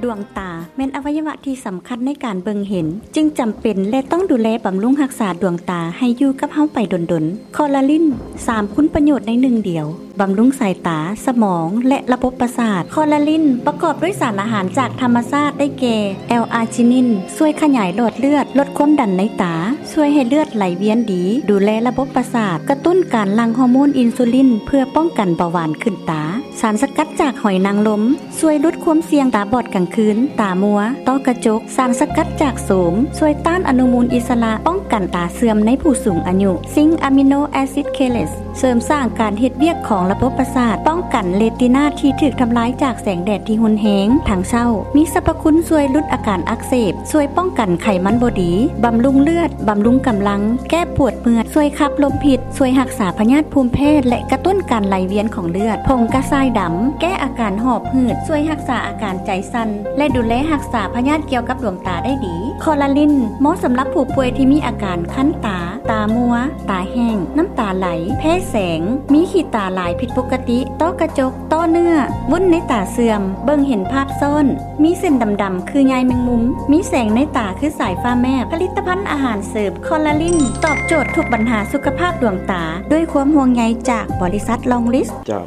ດວງຕາແມ່ນອະໄວຍະວະທີ່ສຳຄັນໃນການເບິ່ງເຫັນ, ຈຶ່ງຈຳເປັນ ແລະ ຕ້ອງດູແລບຳລຸງຮັກສາດວງຕາໃຫ້ຢູ່ກັບເຮົາໄປດົນໆ. ຄໍລາລິນ ສາມຄຸນປະໂຫຍດໃນໜຶ່ງດຽວ, ບຳລຸງສາຍຕາ, ສະໝອງ ແລະ ລະບົບປະສາດ. ຄໍລາລິນປະກອບດ້ວຍສານອາຫານຈາກທຳມະຊາດ ໄດ້ແກ່ ແອລອາຈິນິນ ຊ່ວຍຂະຫຍາຍຫຼອດເລືອດ, ລົດຄວາມດັນໃນຕາ, ຊ່ວຍໃຫ້ເລືອດໄຫຼວຽນດີ, ດູແລລະບົບປະສາດ, ກະຕຸ້ນການຫຼັ່ງຮໍໂມນອິນຊູລິນ ເພື່ອປ້ອງກັນເບົາຫວານຂຶ້ນຕາ. ສານສະກັດຈາກຫອຍນາງລົມ ຊ່ວຍຫຼຸດຄວາມສ່ຽງຕາບອດກາງຄືນ, ຕາມົວ, ຕ້ອກະຈົກ. ສານສະກັດຈາກໂສມ ຊ່ວຍຕ້ານອະນຸມູນອິດສະຫຼະ, ປ້ອງກັນຕາເສື່ອມໃນຜູ້ສູງອາຍຸ. ຊິງອາມິໂນແອຊິດເຄເລດ ເສີມສ້າງການເຮັດວຽກຂອງລະບົບປະສາດ, ປ້ອງກັນເຣຕີນາທີ່ຖືກທຳລາຍຈາກແສງແດດທີ່ຮຸນແຮງທັງເຊົ້າ. ມີສັບພະຄຸນຊ່ວຍຫຼຸດອາການອັກເສບ, ຊ່ວຍປ້ອງກັນໄຂມັນບໍ່ດີ, ບຳລຸງເລືອດ, ບຳລຸງກຳລັງ, ແກ້ປວດເມື່ອຍ, ຊ່ວຍຂັບລົມພິດ, ຊ່ວຍຮັກສາພະຍາດພູມແພ້ ແລະ ກະຕຸ້ນການໄຫຼວຽນຂອງເລືອດ. ຜົງກະຊາຍດຳ ແກ້ອາການຫອບຫືດ, ຊ່ວຍຮັກສາອາການໃຈສັ່ນ ແລະ ດູແລຮັກສາພະຍາດກ່ຽວກັບດວງຕາໄດ້ດີ. ຄໍລາລິນ ເໝາະສຳລັບຜູ້ປ່ວຍທີ່ມີອາການຄັນຕາ, ຕາມົວ, ຕາແຫ້ງ, ນ້ຳຕາໄຫຼ, ແພ້ແສງ, ມີຂີ້ຕາຫຼາຍຜິດປົກກະຕິ, ຕ້ອກະຈົກ, ຕໍ່ເນື້ອ, ວຸ້ນໃນຕາເສື່ອມ, ເບິ່ງເຫັນພາບຊ້ອນ, ມີເສັ້ນດຳໆຄືໃຍແມງມຸມ, ມີແສງໃນຕາຄືສາຍຟ້າແມບ. ຜະລິດຕະພັນອາຫານເສີມຄໍລາລິນ ຕອບໂຈດທຸກບັນຫາສຸຂະພາບດວງຕາ ດ້ວຍຄວາມຫ່ວງໃຍຈາກບໍລິສັດລອງລິດ. ເຈົ້າ.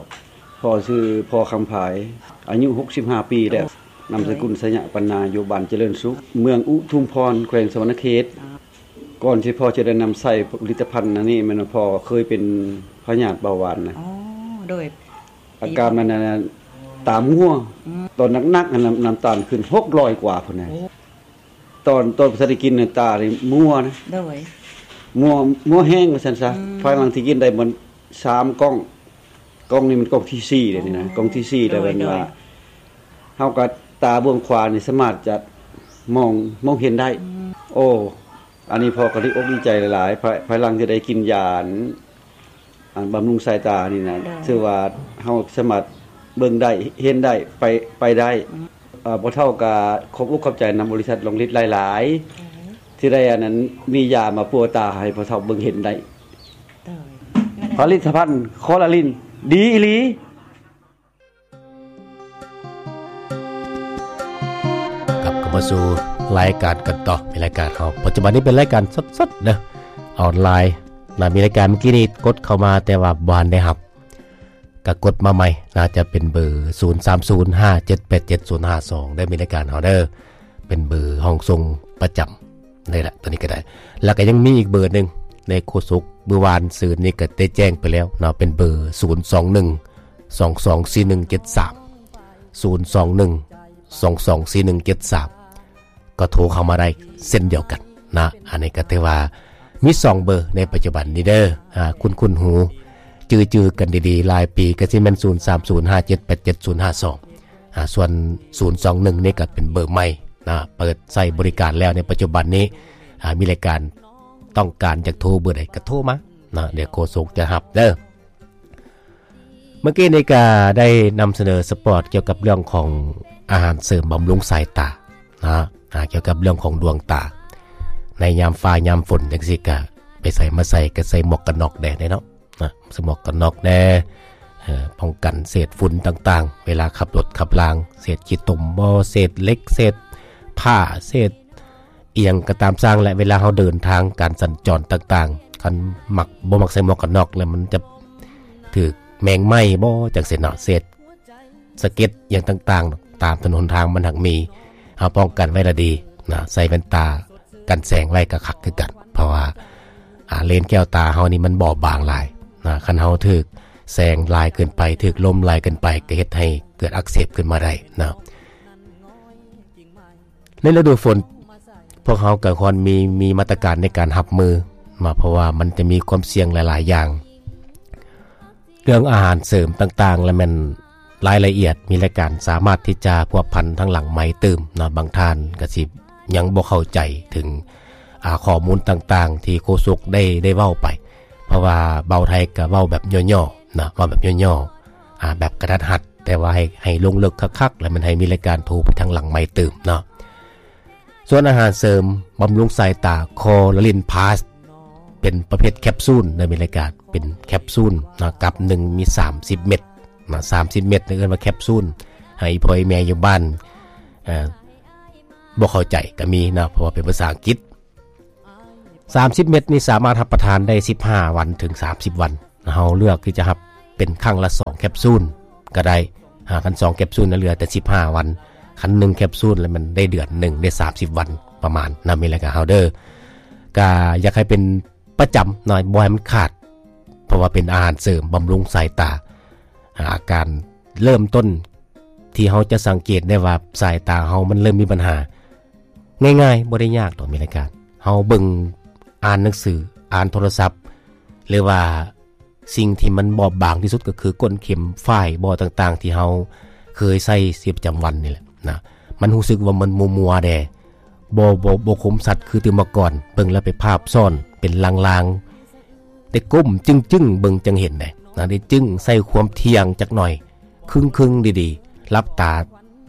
ພໍ່ຊື່ພໍ່ຄຳພາຍ ອາຍຸຫົກສິບຫ້າປີແລ້ວ, ນາມສະກຸນ ໄຊຍະປັນນາ, ຢູ່ບ້ານຈະເລີນສຸກ, ເມືອງອຸທຸມພອນ, ແຂວງສະຫວັນນະເຂດ. ກ່ອນທີ່ພໍ່ຈະໄດ້ນຳໃຊ້ຜະລິດຕະພັນອັນນີ້ ແມ່ນວ່າພໍ່ເຄີຍເປັນພະຍາດເບົາຫວານນະ. ອໍ ໂດຍ. ອາການມັນນັ້ນ ຕາມົວ. ອືມ. ຕອນໜັກໆ ນ້ຳ ນ້ຳຕານຂຶ້ນຫົກຮ້ອຍກວ່າພຸ້ນນະ. ໂອ້. ຕອນ ຕອນບໍ່ທັນໄດ້ກິນນະ ຕານີ້ມົວນະ. ໂດຍ. ມົວ ມົວແຮງວ່າຊັ້ນຊະ. ອືມ. ພາຍຫຼັງທີ່ກິນໄດ້ມັນສາມກ່ອງ, ກ່ອງນີ້ມັນກ່ອງທີສີ່ແລ້ວນີ້ນະ, ອໍ ກ່ອງທີສີ່ແລ້ວ. ໂດຍ ແມ່ນວ່າ ໂດຍ ເຮົາກໍຕາເບື້ອງຂວານີ້ສາມາດຈະມອງ ມອງເຫັນໄດ້. ອືມ. ໂອ້ ອັນນີ້ພໍ່ກໍດີອົກດີໃຈຫຼາຍໆ ພາຍ ພາຍຫຼັງທີ່ໄດ້ກິນຢາອັນ ອັນບຳລຸງສາຍຕານີ້ນະ. ໂດຍ. ຖືວ່າເຮົາສາມາດເບິ່ງໄດ້ ເຫັນໄດ້ ໄປ ໄປໄດ້. ອືມ. ເອີ ພໍ່ເຖົ້າກໍຂອບອົກຂອບໃຈນຳບໍລິສັດລອງລິດຫຼາຍໆ. ໂດຍ. ທີ່ໄດ້ອັນນັ້ນ ມີຢາມາປົວຕາໃຫ້ພໍ່ເຖົ້າເບິ່ງເຫັນໄດ້. ໂດຍ. ຜະລິດຕະພັນຄໍລາລິນ ດີອີ່ຫຼີ. ກັບເຂົ້າມາສູ່ລາຍການກັນຕໍ່ ມີລາຍການເຮົາ ປັດຈຸບັນນີ້ເປັນລາຍການສົດໆເດີ ອອນລາຍນະ. ມີລາຍການເມື່ອກີ້ນີ້ກົດເຂົ້າມາ ແຕ່ວ່າບໍ່ທັນໄດ້ຮັບ ກະກົດມາໃໝ່ນະ, ຈະເປັນເບີ ສູນສາມສູນ ຫ້າເຈັດແປດເຈັດ ສູນຫ້າສອງ ເດີ ມີລາຍການເຮົາເດີ ເປັນເບີຫ້ອງສົ່ງປະຈຳ. ນີ້ແຫຼະ ຕົວນີ້ກໍໄດ້. ແລ້ວກໍຍັງມີອີກເບີໜຶ່ງ ໃນໂຄສົກ ມື້ວານຊືນນີ້ກໍໄດ້ແຈ້ງໄປແລ້ວເນາະ, ເປັນເບີ ສູນສອງໜຶ່ງ ສອງສອງສີ່ໜຶ່ງເຈັດສາມ ສູນສອງໜຶ່ງ ສອງສອງສີ່ໜຶ່ງເຈັດສາມ ກໍໂທເຂົ້າມາໄດ້ເຊັ່ນດຽວກັນນະ. ອັນນີ້ກໍຖືວ່າມີສອງເບີໃນປັດຈຸບັນນີ້ເດີ ອາ ຄຸ້ນໆຫູ ຈື່ໆກັນດີໆ ຫຼາຍປີກໍຊິແມ່ນ ສູນສາມສູນ ຫ້າເຈັດແປດເຈັດ ສູນຫ້າສອງ ອາ ສ່ວນ ສູນສອງໜຶ່ງນີ້ກໍເປັນເບີໃໝ່ນະ ເປີດໃຊ້ບໍລິການແລ້ວໃນປັດຈຸບັນນີ້. ອາ ມີລາຍການຕ້ອງການຢາກໂທເບີໃດກໍໂທມານະ ດຽວໂຄສົກຈະຮັບເດີ. ເມື່ອກີ້ນີ້ກໍໄດ້ນຳສະເໜີສະປອດກ່ຽວກັບເລື່ອງຂອງອາຫານເສີມບຳລຸງສາຍຕານະ ອາ ກ່ຽວກັບເລື່ອງຂອງດວງຕາ ໃນຍາມຟ້າຍາມຝົນຈັ່ງຊີ້ ກະໄປໃສມາໃສກໍໃສ່ໝວກກັນນັອກແດ່ເນາະ. ນະ ສະໝວກກັນນັອກແດ່ ເອີ ປ້ອງກັນເສດຝຸ່ນຕ່າງໆ ເວລາຂັບລົດຂັບລາງ ເສດຂີ້ຕົມບໍ ເສດເຫຼັກ ເສດຜ້າ ເສດອີ່ຫຍັງກໍຕາມຊ່າງແຫຼະ. ເວລາເຮົາເດີນທາງ ການສັນຈອນຕ່າງໆ ຄັນມັກ ບໍ່ມັກໃສ່ໝວກກັນນັອກແລ້ວ ມັນຈະຖືກແມງໄມ້ບໍ ຈັ່ງຊີ້ເນາະ ເສດ ສະເກັດຫຍັງຕ່າງໆ ຕາມຖະໜົນຫົນທາງມັນຫາກມີ. ເຮົາປ້ອງກັນໄວ້ລະດີນະ ໃສ່ແວ່ນຕາກັນແສງໄວ້ກໍຄັກຄືກັນ ເພາະວ່າ ອາ ເລນແກ້ວຕາເຮົານີ້ມັນບອບບາງຫຼາຍນະ ຄັນເຮົາຖືກແສງຫຼາຍເກີນໄປ ຖືກລົມຫຼາຍເກີນໄປ ກໍເຮັດໃຫ້ເກີດອັກເສບຂຶ້ນມາໄດ້ນະ. ໃນລະດູຝົນ ພວກເຮົາກໍຄວນມີ ມີມາດຕະການໃນການຮັບມືເນາະ ເພາະວ່າມັນຈະມີຄວາມສ່ຽງຫຼາຍໆຢ່າງ. ເລື່ອງອາຫານເສີມຕ່າງໆ ລະແມ່ນລາຍລະອຽດ ມີລາຍການສາມາດທີ່ຈະພົວພັນທາງຫຼັງໄມຕື່ມເນາະ. ບາງທ່ານກໍຊິຍັງບໍ່ເຂົ້າໃຈເຖິງ ອາ ຂໍ້ມູນຕ່າງໆ ທີ່ໂຄສົກໄດ້ ໄດ້ເວົ້າໄປ ເພາະວ່າບ່າວໄທກໍເວົ້າແບບຫຍໍ້ໆນະ ເວົ້າແບບຫຍໍ້ໆ ອາ ແບບກະທັດຮັດ ແຕ່ວ່າໃຫ້ ໃຫ້ລົງເລິກຄັກໆ ລະແມ່ນໃຫ້ມີລາຍການໂທໄປທາງຫຼັງໄມຕື່ມເນາະ. ສ່ວນອາຫານເສີມບຳລຸງສາຍຕາຄໍລາລິນພລັສ ເປັນປະເພດແຄບຊູນເດີ ມີລາຍການເປັນແຄບຊູນນະ ກັບໜຶ່ງມີສາມສິບເມັດນະ ສາມສິບເມັດ ເອີ້ນວ່າແຄບຊູນ. ໃຫ້ພໍ່ໃຫ້ແມ່ຢູ່ບ້ານ ເອີ ບໍ່ເຂົ້າໃຈກໍມີເນາະ ເພາະວ່າເປັນພາສາອັງກິດ. ສາມສິບເມັດນີ້ສາມາດຮັບປະທານໄດ້ສິບຫ້າວັນເຖິງສາມສິບວັນ. ເຮົາເລືອກທີ່ຈະຮັບເປັນຄັ້ງລະສອງແຄັບຊູນກໍໄດ້. ຫາ ຄັນສອງແຄັບຊູນນະ ເຫຼືອແຕ່ສິບຫ້າວັນ, ຄັນໜຶ່ງແຄັບຊູນແລ້ວມັນໄດ້ເດືອນໜຶ່ງ ໄດ້ສາມສິບວັນປະມານນະ. ມີລາຍການເຮົາເດີ ກະຢາກໃຫ້ເປັນປະຈຳເນາະ ບໍ່ໃຫ້ມັນຂາດ ເພາະວ່າເປັນອາຫານເສີມບຳລຸງສາຍຕາ. ອາ ອາການເລີ່ມຕົ້ນທີ່ເຮົາຈະສັງເກດໄດ້ວ່າສາຍຕາເຮົາມັນເລີ່ມມີບັນຫາ ງ່າຍໆ ບໍ່ໄດ້ຍາກດອກ ມີລາຍການ. ເຮົາເບິ່ງ ອ່ານໜັງສື ອ່ານໂທລະສັບ ຫຼືວ່າສິ່ງທີ່ມັນບອບບາງທີ່ສຸດກໍຄືກົ້ນເຂັມຝ້າຍບໍຕ່າງໆ ທີ່ເຮົາເຄີຍໃຊ້ຊີວິດປະຈຳວັນນີ້ແຫຼະນະ. ມັນຮູ້ສຶກວ່າມັນມົວໆແດ່ ບໍ່ ບໍ່ ບໍ່ຄົມຊັດຄືແຕ່ເມື່ອກ່ອນ. ເບິ່ງແລ້ວໄປພາບຊ້ອນເປັນລາງໆ ແຕ່ກົ້ມຈຶ່ງໆ ເບິ່ງຈັ່ງເຫັນເດ້ນະ. ໄດ້ຈຶ່ງໃສ່ຄວາມທ່ຽງຈັກໜ່ອຍ ຄຶ່ງໆ ດີໆ ຫຼັບຕາ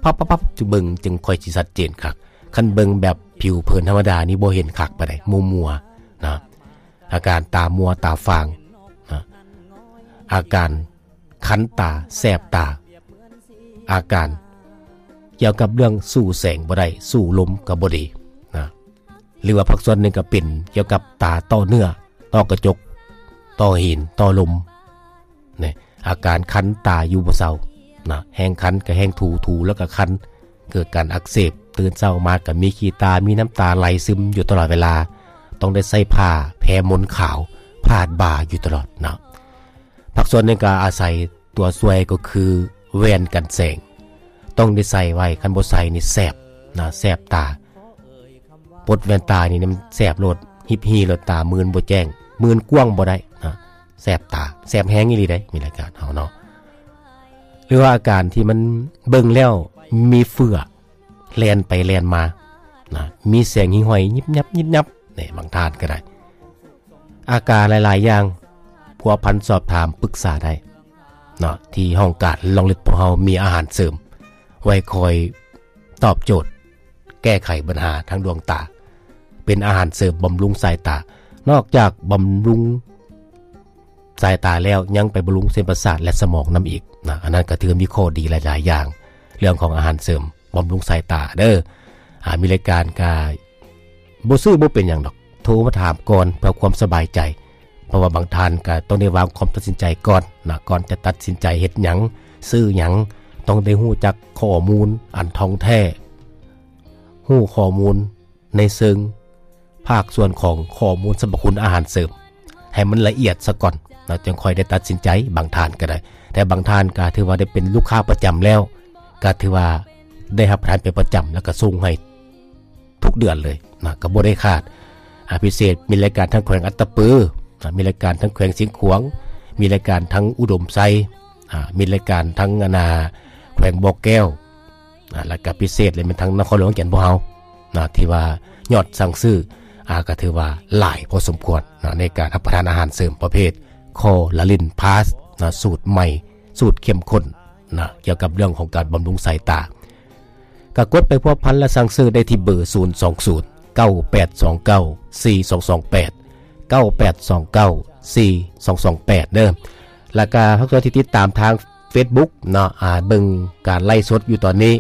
ພັບໆໆ ຈະເບິ່ງຈຶ່ງຄ່ອຍຊິຊັດເຈນຄັກ. ຄັນເບິ່ງແບບຜິວເຜິນທຳມະດານີ້ບໍ່ເຫັນຄັກປານໃດ ມົວໆນະ. ອາການຕາມົວຕາຟາງນະ ອາການຄັນຕາແສບຕາ ອາການກ່ຽວກັບເລື່ອງສູ້ແສງບໍ່ໄດ້ ສູ້ລົມກໍບໍ່ດີນະ. ຫຼືວ່າພາກສ່ວນໜຶ່ງກໍເປັນກ່ຽວກັບຕາຕໍ່ເນື້ອ ຕໍ່ກະຈົກ ຕໍ່ຫີນ ຕໍ່ລົມ ນີ້ ອາການຄັນຕາຢູ່ບໍ່ເຊົານະ. ແຮງຄັນກໍແຮງຖູ ຖູແລ້ວກໍຄັນ ເກີດການອັກເສບ. ຕື່ນເຊົ້າມາກໍມີຂີ້ຕາ ມີນ້ຳຕາໄຫຼຊຶມຢູ່ຕະຫຼອດເວລາ ຕ້ອງໄດ້ໃຊ້ຜ້າແພມົນຂາວພາດບ່າຢູ່ຕະຫຼອດເນາະ. ພາກສ່ວນໜຶ່ງກໍອາໄສຕົວຊ່ວຍກໍຄືແວ່ນກັນແສງ ຕ້ອງໄດ້ໃສ່ໄວ້ ຄັນບໍ່ໃສ່ນີ້ແສບນະ ແສບຕາ. ປົດແວ່ນຕານີ້ມັນແສບໂລດ ຮີບຮີໂລດ ຕາມື່ນບໍ່ແຈ້ງ ມື່ນກວ້າງບໍ່ໄດ້ນະ ແສບຕາ ແສບແຮງອີ່ຫຼີເດ້ ມີລາຍການເຮົາເນາະ. ຫຼືວ່າອາການທີ່ມັນເບິ່ງແລ້ວມີເຝື້ອແລ່ນໄປແລ່ນມານະ ມີແສງຫິ້ງຫ້ອຍຍິບຍັບຍິບຍັບ ນີ້ ບາງທ່ານກໍໄດ້. ອາການຫຼາຍໆຢ່າງ ພົວພັນສອບຖາມປຶກສາໄດ້ເນາະ ທີ່ຫ້ອງການລອງລິດພວກເຮົາມີອາຫານເສີມໄວ້ຄອຍຕອບໂຈດ ແກ້ໄຂບັນຫາທາງດວງຕາ ເປັນອາຫານເສີມບຳລຸງສາຍຕາ. ນອກຈາກບຳລຸງສາຍຕາແລ້ວ ຍັງໄປບຳລຸງເສັ້ນປະສາດ ແລະ ສະໝອງນຳອີກນະ. ອັນນັ້ນກໍຖືມີຂໍ້ດີຫຼາຍໆຢ່າງ ເລື່ອງຂອງອາຫານເສີມບຳລຸງສາຍຕາເດີ. ອາ ມີລາຍການກະ ບໍ່ຊື້ບໍ່ເປັນຫຍັງດອກ ໂທມາຖາມກ່ອນເພື່ອຄວາມສະບາຍໃຈ ເພາະວ່າບາງທ່ານກໍຕ້ອງໄດ້ວາງຄວາມຕັດສິນໃຈກ່ອນນະ ກ່ອນຈະຕັດສິນໃຈເຮັດຫຍັງ ຊື້ຫຍັງ ຕ້ອງໄດ້ຮູ້ຈັກຂໍ້ມູນອັນທ່ອງແທ້ ຮູ້ຂໍ້ມູນໃນເຊີງພາກສ່ວນຂອງຂໍ້ມູນສັບພະຄຸນອາຫານເສີມໃຫ້ມັນລະອຽດສາກ່ອນນະ ຈຶ່ງຄ່ອຍໄດ້ຕັດສິນໃຈ. ບາງທ່ານກໍໄດ້ ແຕ່ບາງທ່ານກໍຖືວ່າໄດ້ເປັນລູກຄ້າປະຈຳແລ້ວ ກໍຖືວ່າໄດ້ຮັບປະທານເປັນປະຈຳ ແລ້ວກໍສົ່ງໃຫ້ ທຸກເດືອນເລີຍນະ ກໍບໍ່ໄດ້ຂາດ. ອາ ພິເສດມີລາຍການທາງແຂວງອັດຕະປືນະ ມີລາຍການທາງແຂວງຊຽງຂວາງ ມີລາຍການທາງອຸດົມໄຊ ອາ ມີລາຍການທາງອັນນາ ແຂວງບໍ່ແກ້ວ ອາ ແລ້ວກໍພິເສດເລີຍແມ່ນທາງນະຄອນຫຼວງວຽງຈັນພວກເຮົານະ ທີ່ວ່າຍອດສັ່ງຊື້ ອາ ກໍຖືວ່າຫຼາຍພໍສົມຄວນນະ ໃນການຮັບປະທານອາຫານເສີມປະເພດຄໍລາລິນພລັສນະ ສູດໃໝ່ ສູດເຂັ້ມຂຸ້ນນະ ກ່ຽວກັບເລື່ອງຂອງການບຳລຸງສາຍຕາ. ກໍກົດໄປພົວພັນ ແລະ ສັ່ງຊື້ໄດ້ທີ່ເບີ ສູນສອງສູນ ເກົ້າແປດສອງເກົ້າ ສີ່ສອງສອງແປດ ເກົ້າແປດສອງເກົ້າ ສີ່ສອງສອງແປດ ເດີ ແລ້ວກໍພາກສ່ວນທີ່ຕິດຕາມທາງເຟສບຸກເນາະ ອາ ເບິ່ງການໄລຟ໌ສົດຢູ່ຕອນນີ້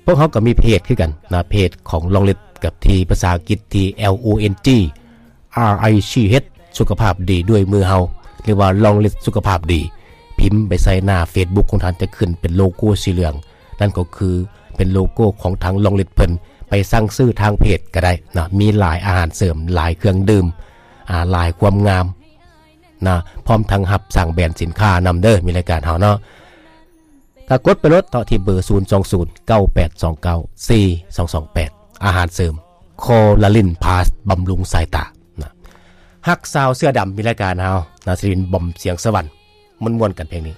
ພວກເຮົາກໍມີເພຈຄືກັນນະ ເພຈຂອງລອງລິດ ກັບທີ່ພາສາອັງກິດທີ່ L O N G R I C H ສຸຂະພາບດີດ້ວຍມືເຮົາ ຫຼືວ່າລອງລິດສຸຂະພາບດີ ພິມໄປໃສ່ໜ້າເຟສບຸກຂອງທ່ານ ຈະຂຶ້ນເປັນໂລໂກ້ສີເຫຼືອງ ນັ້ນກໍຄືເປັນໂລໂກ້ຂອງທາງລອງລິດເພິ່ນ ໄປສັ່ງຊື້ທາງເພຈກໍໄດ້ນະ ມີຫຼາຍອາຫານເສີມ ຫຼາຍເຄື່ອງດື່ມ ອາ ຫຼາຍຄວາມງາມນະ ພ້ອມທັງຮັບສ້າງແບຣນສິນຄ້ານຳເດີ ມີລາຍການເຮົາເນາະ. ກໍກົດໄປໂລດເນາະ ທີ່ເບີ ສູນສອງສູນ ເກົ້າແປດສອງເກົ້າ ສີ່ສອງສອງແປດ ອາຫານເສີມຄໍລາລິນພລັສ ບຳລຸງສາຍຕານະ. ຮັກສາວເສື້ອດຳ ມີລາຍການເຮົານະ ສິລິນ ບອມ ສຽງສະຫວັນ ມ່ວນໆກັນເພງນີ້.